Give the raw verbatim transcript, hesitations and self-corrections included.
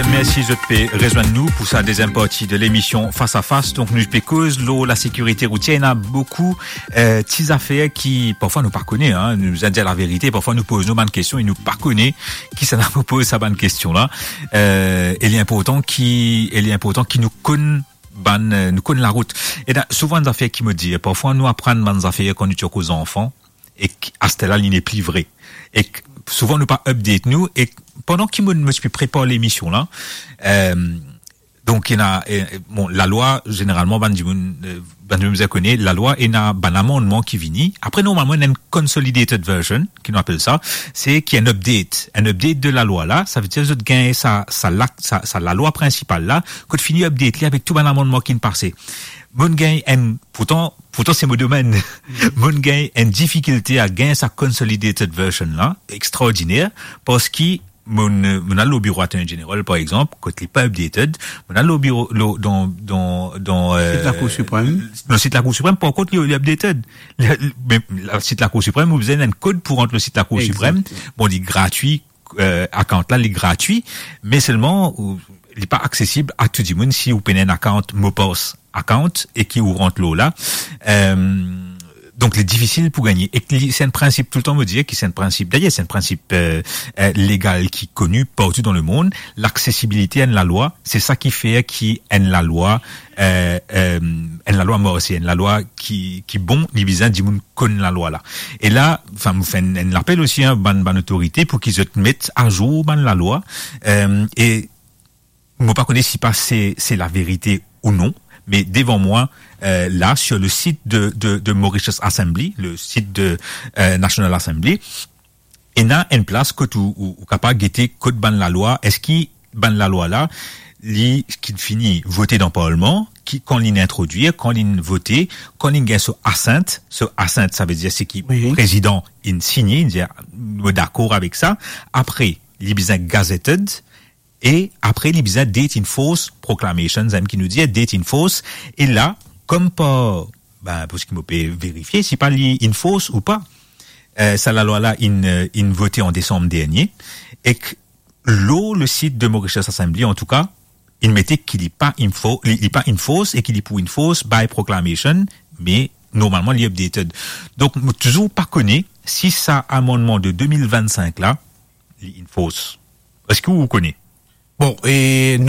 Mersi zot pe rezwenn nou pou sa deziem parti de lemision Fas a Fas. Donk nou pe koz lor lasekirite routier. Ena boukou, eh, ti zafer ki parfwa nou pa kone, hein. Nou dir laverite, parfwa nou poz nou bann kestion e nou pa kone kisannla pou poz sa bann kestion la. Eh, e li inportan ki, e li inportan ki nou konn bann, eh, nou konn larout. Ena souvan enn zafer ki mo dir, parfwa nou aprann bann zafer kan nou ti ankor zanfan, ek aster la li nepli vre. Ek souvan nou pa update nou, ek pandan ki mo, mo ti pe prepar lemision la, eh, donk ena, eh, bon, lalwa, zeneralman, bann dimoun, eh, bann dimoun bizin kone, lalwa ena bann amannman ki vini. Apre, normalman, ena enn consolidated version, ki nou apel sa, se ki enn update. Enn update de lalwa la, savedir zot gagn sa, sa la, sa, sa lalwa prinsipal la, kot fini update li avek tou bann amannman ki'nn pase. Mo'nn gagn enn, pourtan, pourtan se mo domenn. Mo'nn gagn enn difikilte a gagn sa consolidated version la, extraordiner, parski mo'nn, mo'nn al lor biro Attorney General, par exanp, kot li pa updated, mo'nn al lor biro, lor, dan, dan, dan, eh, sit Lakour Siprem. Lor sit Lakour Siprem, par kont, li, li updated. Le, le, me lor sit Lakour Siprem, ou bizin enn kod pou rant lor sit Lakour Siprem. Exactement. Bon, li gratwi, eh, account la, li gratwi, me selman, ou, li pa aksesib a tou dimoun si ou pena enn account, mo pas account, e ki ou rant lor la. Eh, donk, li difisil pou gagne. Ek li, se enn prinsip, toultan mo dir ki se enn prinsip. Dayer, se enn prinsip, eh, eh, legal ki koni partou dan lemond. Laksesibilite a enn lalwa, se sa ki fer ki enn lalwa, eh, eh, enn lalwa marse, enn lalwa ki, ki bon, li bizin dimoun konn lalwa la. E la, anfin, mo fer enn, enn lapel osi, hein, bann, bann otorite pou ki zot met azour bann lalwa. Eh, e mo pa kone si pa se, se laverite ou non, me devan mwa, eh, la, sur le site de, de, de Mauritius Assembly, le site de, eh, National Assembly, ena enn plas kot ou, ou, ou kapav gete kot bann lalwa, eski bann lalwa la, li, ki fini vote dan parlman, ki, kan li'nn introdwir, kan li'nn vote, kan li'nn gagn so assent, so assent, savedir se ki, wi, prezidan inn signe, inn dir, "Mo dakor avek sa." Apre, li bizin gazetted, e apre, li bizin date in force proclamation, zame ki nou dir date in force. E la, kom par, ben, pou seki mo pe verifie, si pa li in force ou pa, eh, sa lalwa la inn, eh, inn vote an desam dernie, ek lor le sit de Mauritius Assembly, antouka, inn mete ki li pa in fo-, li, li pa in force e ki li pou in force by proclamation, me normalman li updated. Donk, mo touzour pa kone si sa amannman de de mil vennsink la, li in force. Eski ou kone? Bon, e